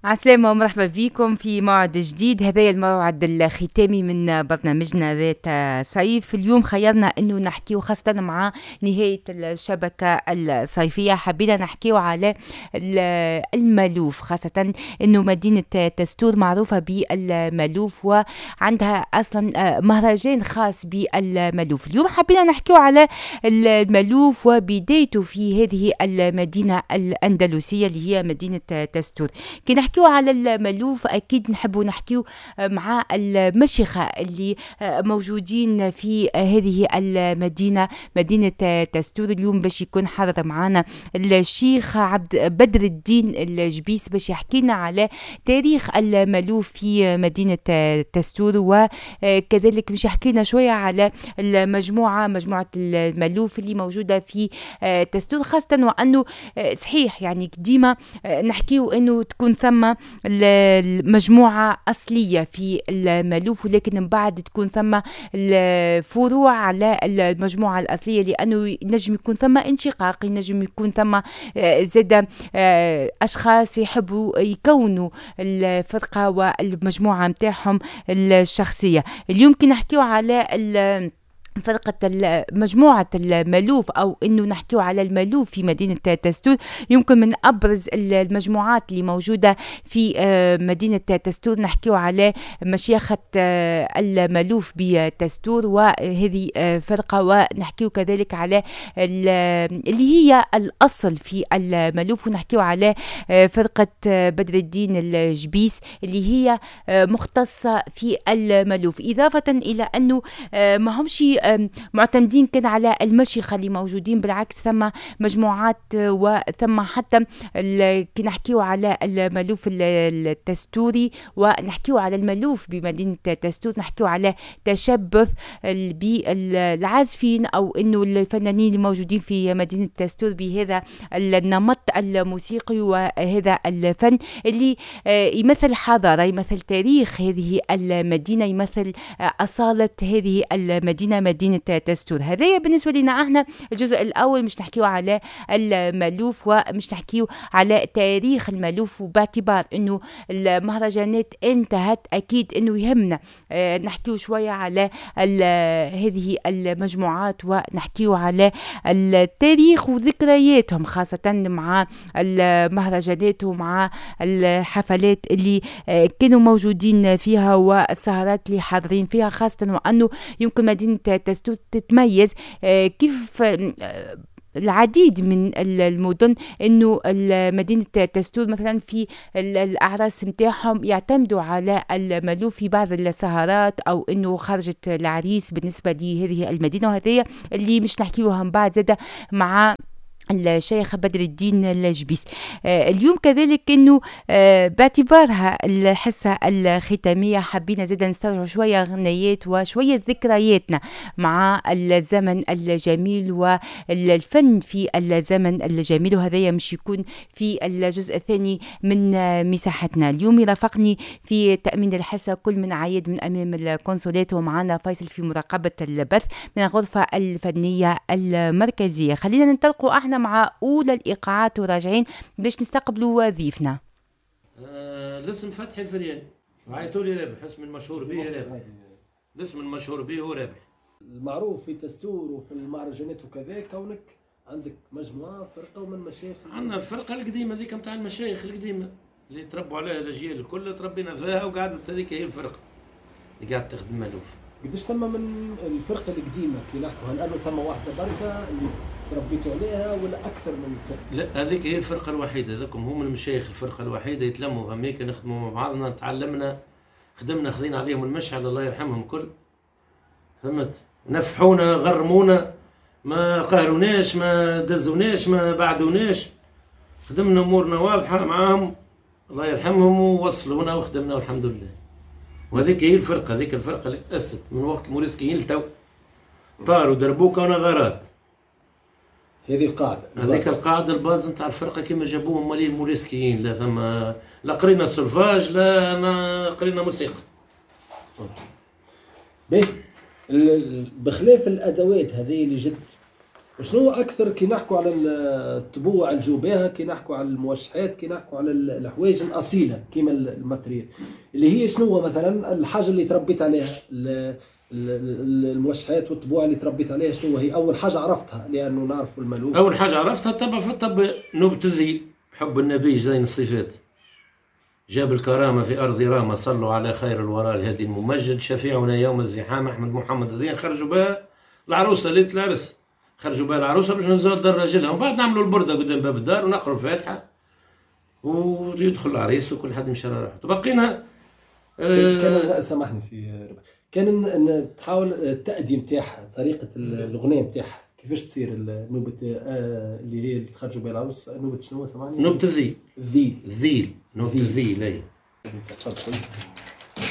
عسلامة ومرحبا بكم في موعد جديد. هذا الموعد الختامي من برنامجنا ذات صيف. اليوم خيرنا انه نحكيو خاصة مع نهاية الشبكة الصيفية، حبينا نحكيو على المالوف، خاصة انه مدينة تستور معروفة بالمالوف وعندها اصلا مهرجان خاص بالمالوف. اليوم حبينا نحكيو على المالوف وبدايته في هذه المدينة الأندلسية اللي هي مدينة تستور. كي نحكيو على المالوف اكيد نحبوا نحكيو مع المشيخه اللي موجودين في هذه المدينة، مدينة تستور. اليوم باش يكون حاضر معنا الشيخ عبد بدر الدين الجبيس باش يحكي لنا على تاريخ المالوف في مدينة تستور، وكذلك باش يحكي لنا شوية على المجموعة، مجموعة المالوف اللي موجودة في تستور، خاصة وانه صحيح يعني ديما نحكيو انه تكون ثم المجموعة أصلية في المالوف، ولكن من بعد تكون ثم الفروع على المجموعة الأصلية، لأنه ينجم يكون ثم انشقاق، ينجم يكون ثم زاد أشخاص يحبوا يكونوا الفرقة والمجموعة متاعهم الشخصية. اليوم كي نحكيو على فرقة مجموعة المالوف أو إنه نحكيو على المالوف في مدينة تستور، يمكن من أبرز المجموعات اللي موجودة في مدينة تستور نحكيو على مشيخة المالوف بتستور، وهذه فرقة. ونحكيو كذلك على اللي هي الأصل في المالوف، ونحكيو على فرقة بدر الدين الجبيس اللي هي مختصة في المالوف، إضافة إلى أنه ما همش معتمدين كان على المشيخة اللي موجودين، بالعكس ثم مجموعات وثم حتى كي نحكيو على المالوف التستوري ونحكيو على المالوف بمدينة تستور، نحكيو على تشبث بالعازفين أو إنه الفنانين الموجودين في مدينة تستور بهذا النمط الموسيقي وهذا الفن اللي يمثل حضارة، يمثل تاريخ هذه المدينة، يمثل أصالة هذه المدينة، مدينة تستور. هذايا بالنسبة لنا احنا الجزء الأول، مش نحكيو على المالوف ومش نحكيو على تاريخ المالوف، وباعتبار انه المهرجانات انتهت اكيد انه يهمنا نحكيو شوية على هذه المجموعات ونحكيو على التاريخ وذكرياتهم، خاصة مع المهرجانات ومع الحفلات اللي كانوا موجودين فيها والسهرات اللي حاضرين فيها، خاصة وأنه يمكن مدينة تستور تتميز كيف العديد من المدن، انه مدينة تستور مثلا في الاعراس نتاعهم يعتمدوا على المالوف في بعض السهرات، او انه خرجت العريس بالنسبة لهذه المدينة، وهذه اللي مش نحكيوها من بعد زادة مع الشيخ بدر الدين الجبيس. اليوم كذلك انه باعتبارها الحصة الختامية حبينا زادا نسترجع شوية غنيات وشوية ذكرياتنا مع الزمن الجميل والفن في الزمن الجميل، وهذايا مش يكون في الجزء الثاني من مساحتنا. اليوم يرافقني في تأمين الحصة كل من عايد من أمام الكونسولات، ومعنا فيصل في مراقبة البث من الغرفة الفنية المركزية. خلينا ننطلقوا احنا مع أولى الإيقاعات وراجعين باش نستقبلوا ضيفنا. الاسم فتحي الفرياني، عيطوا لي رابح، اسم المشهور به رابح، الاسم المشهور به هو رابح. المعروف في تستور وفي المهرجانات وكذا، كونك عندك مجموعة فرقة ومن مشايخ. عندنا الفرقة القديمة ذيك نتاع المشايخ القديمة اللي تربوا عليها الأجيال الكل، تربينا فيها وقعدت هذيك هي الفرقة اللي قاعدة تخدم مالوف. قداش ثم من الفرقة القديمة كي نحكوا، هل أنه ثم واحدة بركة اللي تربيتوا عليها ولا أكثر من فرقة؟ لا، هذيك هي الفرقة الوحيدة، هذوكم هم المشايخ الفرقة الوحيدة، يتلموا هميك نخدموا مع بعضنا، تعلمنا خدمنا، خذينا عليهم المشعل الله يرحمهم كل، فهمت؟ نفحونا، غرمونا، ما قهروناش، ما دزوناش، ما بعدوناش، خدمنا أمورنا واضحة معاهم الله يرحمهم، ووصلونا وخدمنا والحمد لله. وهذيك هي الفرقة، هذيك الفرقة اللي تأسست من وقت الموريسكيين لتو، طاروا دربوكة ونغارات. هذه القاعدة، هذيك القاعدة ال base نتاع الفرقة كما جابوهم مالين الموريسكيين، لا ثم لا قرينا سولفاج لا قرينا موسيقى. باهي، بخلاف الأدوات هذه اللي جت شنو اكثر كي نحكوا على الطبوع الجوباها، كي نحكوا على الموشحات، كي نحكوا على الحوايج الاصيلة كيما ال matériel اللي هي شنو مثلا الحاجة اللي تربيت عليها، الموشحات والطبوع اللي تربيت عليها، شنو هي اول حاجة عرفتها؟ لانه نعرف المالوف. اول حاجة عرفتها تبع في الطب نوبه الذيل، حب النبي زين الصفات، جاب الكرامة في ارض راما، صلوا على خير الورى الهادي الممجد، شفيعنا يوم الزحام احمد محمد الدين. خرجوا بها العروسة ليلة العرس، خرجوا بها العروسة باش نزلوا دار راجلها، ومن بعد نعملوا البرده قدام باب الدار ونقروا الفاتحة ويدخل العريس وكل حد يمشي على روحه. تبقينا كان سامحني سي ربح، كان تحاول التأدية نتاعها، طريقة الأغنية نتاعها كيفاش تصير نوبة اللي هي اللي تخرجوا بها العروس، نوبة شنو سامحني؟ نوبة الذيل. الذيل. الذيل، نوبة الذيل. اي تفضل.